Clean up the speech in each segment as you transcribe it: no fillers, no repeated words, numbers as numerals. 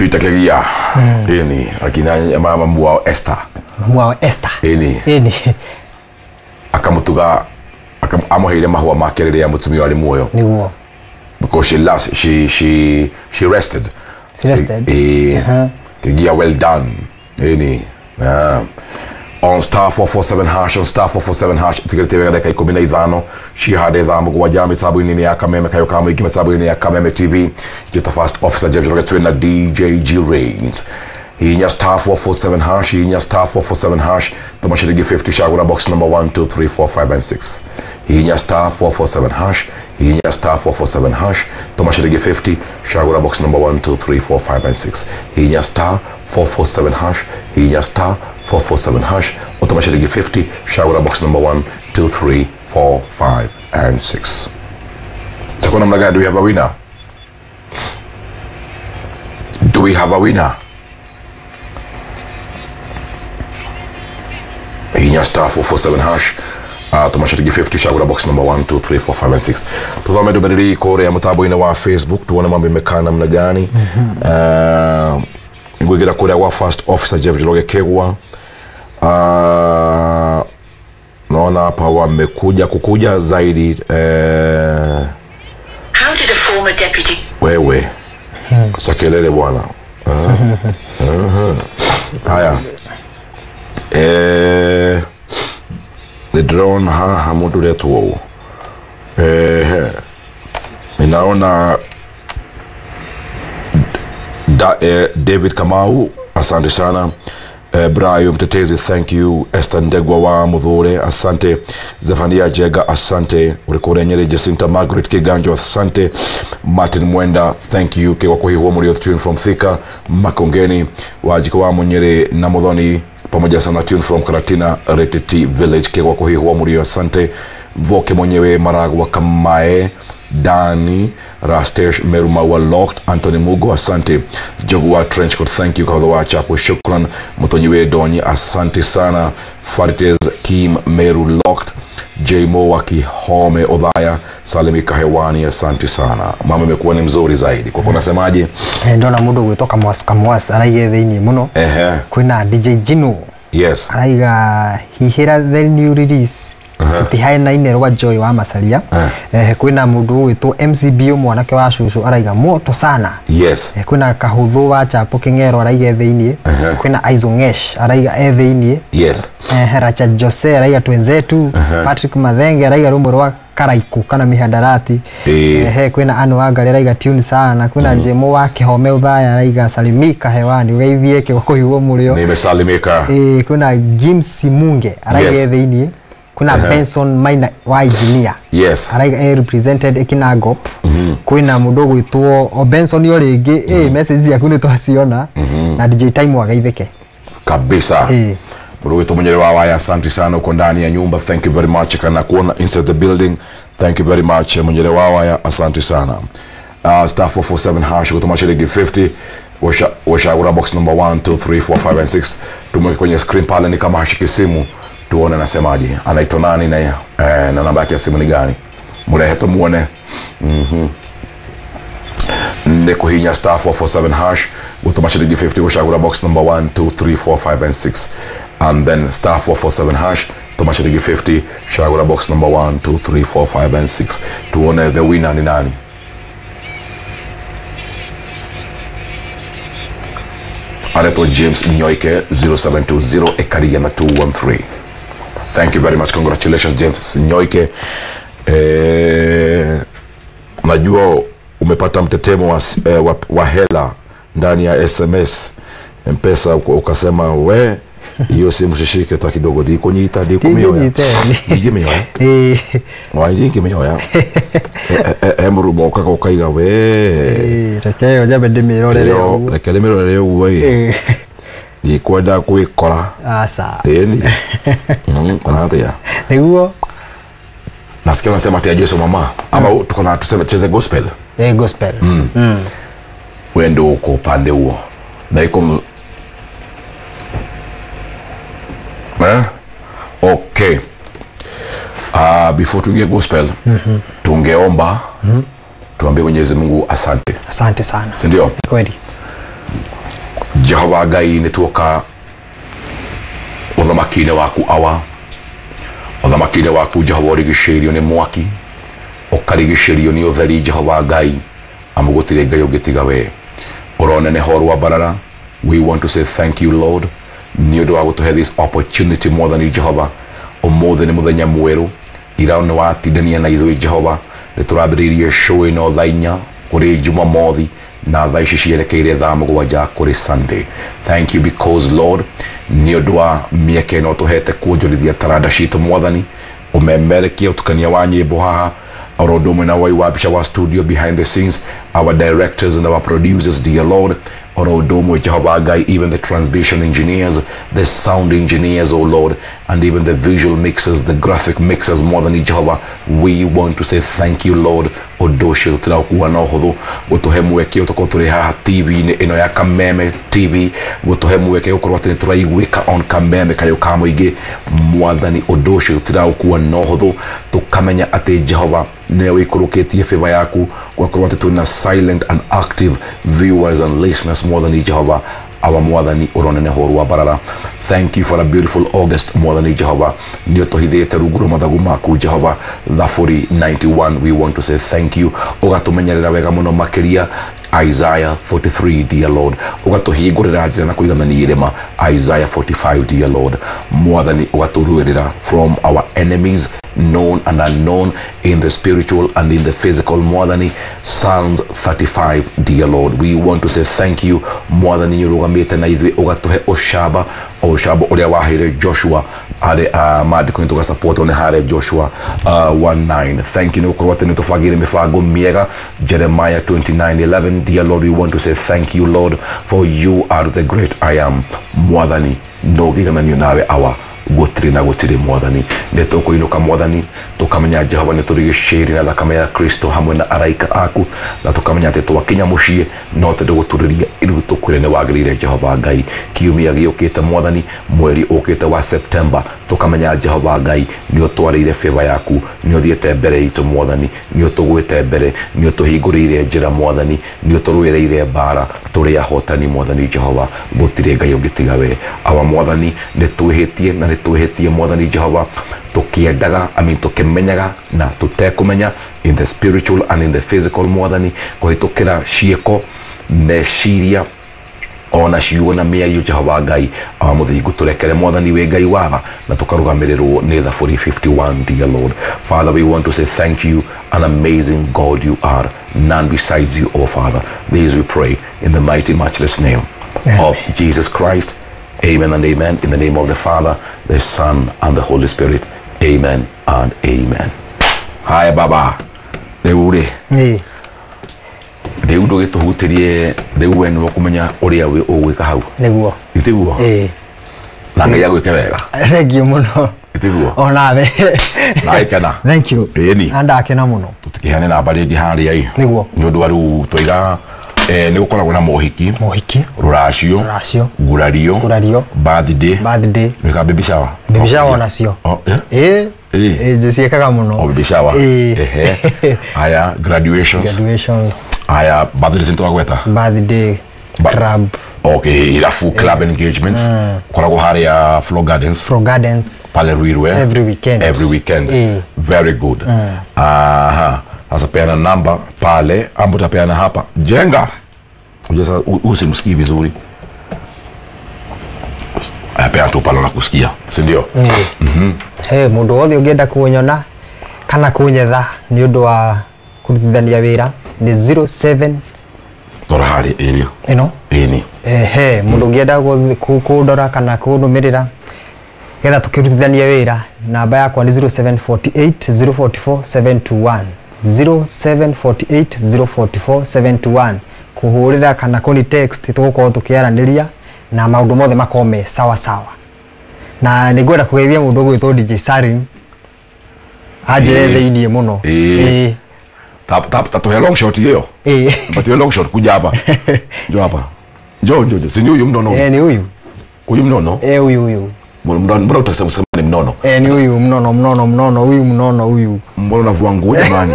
Peter Kegia. Eni akina mama mwao Esther. Mwao Esther. Eni. Eni. Akamutuga amuheire mahua make riria mutumia ari muoyo. Niguo. Because she last she rested. She rested. Kegia, well done. Eni. On star 447 hash, on star 447 hash, tigirite wega dakika 15 cihande thaa mũgwanja mĩtambo-inĩ ya Kameme kayo ka mũingĩ mĩtambo-inĩ ya Kameme TV. Njĩta First Officer Jeff Njoroge twĩ na DJ G Rains. Hihinya star 447 hash, hihinya star 447 hash, tũma ciringi 50 cagũra box number 1 2 3 4 5 and 6. Hihinya star 447 hash, hihinya star 447 hash, tũma ciringi 50 cagũra box number 1 2 3 4 5 and 6. Hihinya star 447 hash, hihinya star 447 hash, utuma shilingi 50 shagura box number 1 2 3 4 5 and 6. Takuwa namna gani? Do we have a winner? Do we have a winner? Hinya star 447 hash, tuma shilingi 50 shagura box number 1 2 3 4 5 and 6. Tazame ndũmĩrĩri kũrĩa mũtambo-inĩ wa Facebook tuone mambo imekaa namna gani. Ngwĩgira kũrĩa gwa First Officer Jeff Njoroge Kegwa. Naona hapa wamekuja kukuja zaidi. How did a former deputy wewe acha kelele bwana. Haya, the drone haha mundu retwo. Ninaona David Kamau, asante sana. Brayo Mtetezi, thank you. Esther Ndegwa wa Muthure, asante. Zefania Jega, asante. Urikure Nyeri Jacinta Margaret Kiganjo, asante. Martin Mwenda, thank you. Kegwa Kuhihwo Murio tune from Thika Makongeni. Wajiko wa Munyere na Muthoni pamoja sana tune from Karatina Reteti Village. Kegwa Kuhihwo Murio, asante. Voke mwenyewe Maragwa Kamae Dani Rastesh Merumawa Locked, Anthony Mugo, asante. Jogua Trenchcoat, thank you. Kahudho Chapo, shukran. Mutonyiwe Donyi, asante sana. Farites Kim Meru Locked, Jmo wa Kihome Odhaya, Salimi Kahewani, asante sana. Mama imekuwa ni mzuri zaidi. Kwa unasemaje? Ndona mundu gwitwo Kamwas Kamwas araiga thiini muno. Kwina DJ Jino. Yes. Araiga hihira the new release. Tutihainaine rwa Joy wa Masalia. Kwina mundu gwitwo MCBO mwanake wa cucu araiga moto sana. Yes. Kwina Kahuthu wa Chapo King'ero araiga thiini. Kwina Aizo Ngesh araiga e thiini. Yes. Racha Jose araiga twenzetu. Patrick Mathenge araiga rumbo rwa Karaiku kana mihadarati. Kwina Anu Wangari araiga tune sana. Kwina Jemo wa Kihome Uthaya araiga salimika hewani ugeithie Kegwa Kuhihwo Murio. Nimesalimika. Kwina James Munge araiga thiini. Kuna Benson Maina wa engineer. Yes. Araiga represented Ekinagop. Kwina mundu gwitwo o Benson yo ringi message ciaku ni twaciona na DJ Time wagaitheke. Kabisa. Mundu gwitwo Munyere wa Waya, asante sana, uko ndani ya nyumba, thank you very much. Kana kuona inside the building, thank you very much Munyere wa Waya, asante sana. Star 447 hash kutuma shilingi 50 washagura box number 1 2 3 4 5 and 6. Tumweke kwenye screen pale ni kama hashiki simu tuone anasemaje, anaitwa nani na na namba yake ya simu ni gani. Murehe tumuone. Ndeko hinya star 447 hash gutuma shilingi 50 gushagura box number 1 2 3 4 5 and 6 and then star 447 hash tuma shilingi 50 shagura box number 1 2 3 4 5 and 6 tuone the winner ni nani. Areto James Nyoike 0720 Ekaria na 213. Thank you very much. Congratulations James Nyoike. Najua umepata mtetemo wa hela ndani ya SMS M-Pesa, ukasema we hiyo simu shishike ta kidogo ndiko nyita ndiko mioya. Ndiko mioya. Wa ndiko mioya. Murumo ukaka ukaiga we. Reke yo jabe ndimirorere uguo. Reke ndimirorere uguo ĩ. Ndikwenda gwikora. Aca. Ĩni. Kana atia. Niguo. Nasikia unasema ati Yesu mama ama tuko na tuseme tucheze gospel. Gospel. Wewe ndio uko upande huo. Na iko Okay. Before tuingie gospel, tungeomba tuambie Mwenyezi Mungu asante. Asante sana. Si ndio? Kweli. Jehova Ngai nĩ tuoka ũthamaki-inĩ waku awa, ũthamaki-inĩ waku Jehova ũrigicĩirio nĩ mwaki, ũkarigicĩrio nĩ ũtheri Jehova Ngai, amu gũtirĩ Ngai ũngĩtiga we. Ũroneneha ũrwambarara. We want to say thank you Lord nĩ ũndũ wa gũtũhe this opportunity mwathani Jehova. Ũmũthĩ nĩ mũthenya mwerũ, ira nĩ watindania na ithuĩ Jehova, nĩ tũrambĩrĩirie show ĩno thaa inya kũrĩ Jumamothi na thaa ici cierekeire thaa mũgwanja kũrĩ Sunday. Thank you because Lord nĩ ũndũ wa mĩeke ĩno tũhete kuonjorithia taranda citũ mwathani, ũmemerekie ũtukania wa nyĩmbo haha oro ũndũ ũmwe na wai wa mbica wa studio behind the scenes, our directors and our producers dear Lord, oro ũndũ ũmwe Jehova Ngai, even the transmission engineers, the sound engineers oh Lord, and even the visual mixers, the graphic mixers mwathani Jehova, we want to say thank you Lord. Ũndũ ũcio tũtiraũkua na ũhũthũ, gũtũhe mweke tũkorwo tũrĩ haha TV-inĩ ĩno ya Kameme TV, gũtũhe mweke gũkorwo atĩ nĩ tũraiguĩka on Kameme kayũ ka mũingĩ mwathani. Ũndũ ũcio tũtiraũkua na ũhũthũ, tũkamenya atĩ Jehova nĩwe wĩikũrũkĩtie favor yaku, gũgakorwo atĩ twĩna silent and active viewers and listeners mwathani Jehova. Awa mwathani ũroneneha ũrwambarara. Thank you for a beautiful August mwathani Jehova, nĩ ũtũhithĩte rungu rwa mathagu maku Jehova. Thaburi 91, we want to say thank you. Ũgatũmenyerera wega mũno makĩria Isaiah 43 dear Lord, ũgatũhingũrĩra njĩra na kũiganania irĩma Isaiah 45 dear Lord. Mwathani ũgatũruĩrĩra from our enemies known and unknown, in the spiritual and in the physical mwathani. Psalms 35 dear Lord, we want to say thank you mwathani, nĩ ũrũgamĩte na ithuĩ ũgatũhe ũcamba, o ũcamba ũrĩa waheire Joshua harĩ maandĩko-inĩ tũgasupportwo nĩ harĩa Joshua 1:9. Thank you nĩ gũkorwo atĩ nĩ tũbangĩire mĩbango mĩega Jeremiah 29:11 dear Lord, we want to say thank you Lord, for you are the great I am mwathani, no ngĩgananio nawe awa gũtirĩ na gũtirĩ mwathani. Nĩ tũkũinũka mwathani, tũkamenya Jehova nĩ tũrigicĩirie na thakame ya Kristo hamwe na araika aku, na tũkamenya atĩ twakinya mũciĩ no tũndũ gũturĩria iru tũkwĩre nĩ wagĩrĩire Jehova Ngai. Kiumia gĩũkĩte mwathani, mweri ũkĩte wa September, tũkamenya Jehova Ngai nĩ ũtwarĩire favor yaku, nĩ ũthiĩte mbere itũ mwathani, nĩ ũtũgwĩte mbere, nĩ ũtũhingũrĩire njĩra mwathani, nĩ ũtũrũĩrĩire mbara, tũrĩ ahotani mwathani Jehova, gũtirĩ Ngai ũngĩtiga we. Awa mwathani nĩ twĩhĩtie na nĩ twĩhĩtie mwathani Jehova, tũkĩendaga, I mean tũkĩmenyaga na tũtekũmenya, in the spiritual and in the physical mwathani, kũhĩtũkĩra ciĩko, meciria ona ciugo na mĩario Jehova Ngai. Awa mũthingu tũrekere mwathani, wĩ Ngai watha, na tũkarũgamĩrĩrwo nĩ Thaburi 51 dear Lord. Father, we want to say thank you, an amazing God you are, none besides you, O Father. These we pray in the mighty matchless name of Jesus Christ. Amen and amen. In the name of the Father, the Son, and the Holy Spirit. Amen and amen. Haya baba, rĩu rĩ rĩu ndũgĩtũhutĩrie, rĩu we nĩwe ũkũmenya ũrĩa ũgwĩka hau nĩguo itiguo, na Ngai agwĩke wega. Thank you mũno. Itiguo onawe na gĩkena. Thank you. Ĩni na ndakena mũno. Tũtikĩheane namba rĩngĩ harĩa ĩ nĩguo, nĩ ũndũ wa rĩu twaiga nĩ gũkoragwo na mohiki, mohiki, rũracio, rũracio, ngurario, ngurario, birthday, birthday, wĩka baby shower, baby shower onacio. Oh, yeah? Ĩ Ĩ. ndĩciĩkaga mũno. Oh, baby shower. Ĩ. Ehe. Haya, graduations. Graduations. Haya, birthday nĩtwagweta. Birthday club. Okay, irabu, club engagements. Koragwo harĩa Flo Gardens. Fro Gardens. Pale Ruiru, eh? Every weekend. Every weekend. Eh. Very good. Aha. Sasa peana namba pale ambapo utapeana hapa. Jenga. Unajua sasa usimsikii vizuri. Aya, peana tu pale nakusikia, si ndio? He mũndũ wothe ũngĩenda kunyona kana kunyetha nĩ ũndũ wa kũrutithania wĩra nĩ 07 Tora harĩ ĩrĩa. Ĩno Ĩni. Ehe, mũndũ ũngĩenda kũndora kana kũnũmĩrĩra getha tũkĩrutithanie wĩra, namba yakwa nĩ 0748 044 721, 0748 044 721, kũhũrĩra kana kũni text, tũgũkorwo tũkĩaranĩria na maũndũ mothe makorwo me sawa sawa. Na nĩ ngwenda kũgeithia mũndũ ũgwĩtwo DJ Sarim anjĩre thĩiniĩ mũno. Ĩĩ. Ta tuhe long shot hiyo. Ĩĩ. Patie long shot, kuja hapa. Njoo hapa. Njoo njoo njoo. Si ni huyu mnono? Ni huyu. Huyu mnono? Huyu huyu. Mbona utasema sema ni mnono? Ni huyu mnono mnono mnono, huyu mnono huyu. Mbona unavua nguo jamani?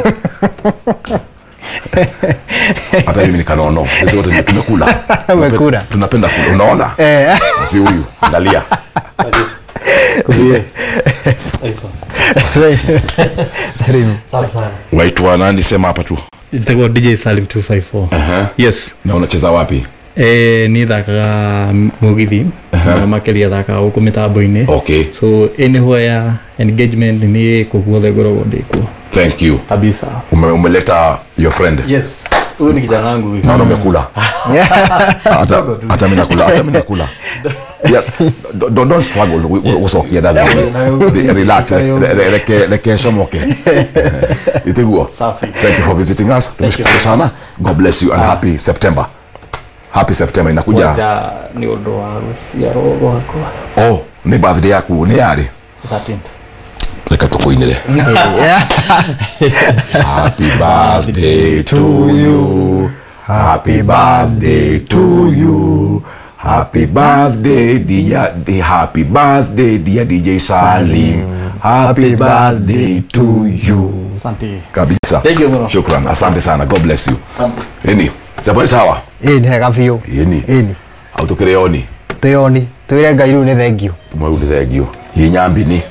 Hata mimi ni kanono. Sisi wote tumekula. Umekula. Tunapenda kula. Unaona? Si huyu. Angalia. Salim. Waitwa nani, sema hapa tu. Nitakuwa DJ Salim 254. Yes. Na unacheza wapi? Ni thakaga mugithi na makiria thakaga gũkũ mĩtambo-inĩ. Okay. So anywhere engagement ni kũ guothe ngoragwo ndĩ kuo. Thank you. Kabisa. Umeleta your friend. Yes. Huyu ni kijana wangu. Naona umekula. Hata mimi nakula, hata mimi nakula. Yeah, don't struggle gucokia ndatha. Relax, reke comoke. Itiguo. Thank you for visiting us. Tumeshukuru sana. God bless you and happy September. Happy September inakuja. Ni undu wa ruciaro rwakwa. Oh, ni birthday yaku ni yari? 13th. Reka tukuinire. Happy birthday to you. Happy birthday to you. Happy birthday dear, happy birthday dear DJ Salim. Happy birthday to you. Asante. Kabisa. Thank you bro. Shukran. Asante sana. God bless you. Eni, saboni sawa? Eni hega biũ. Eni. Eni. Au tukire oni. Twĩ oni. Twĩre Ngai rĩu nĩ thank you. Tumwe rĩu nĩ thank you. Hinya mbini.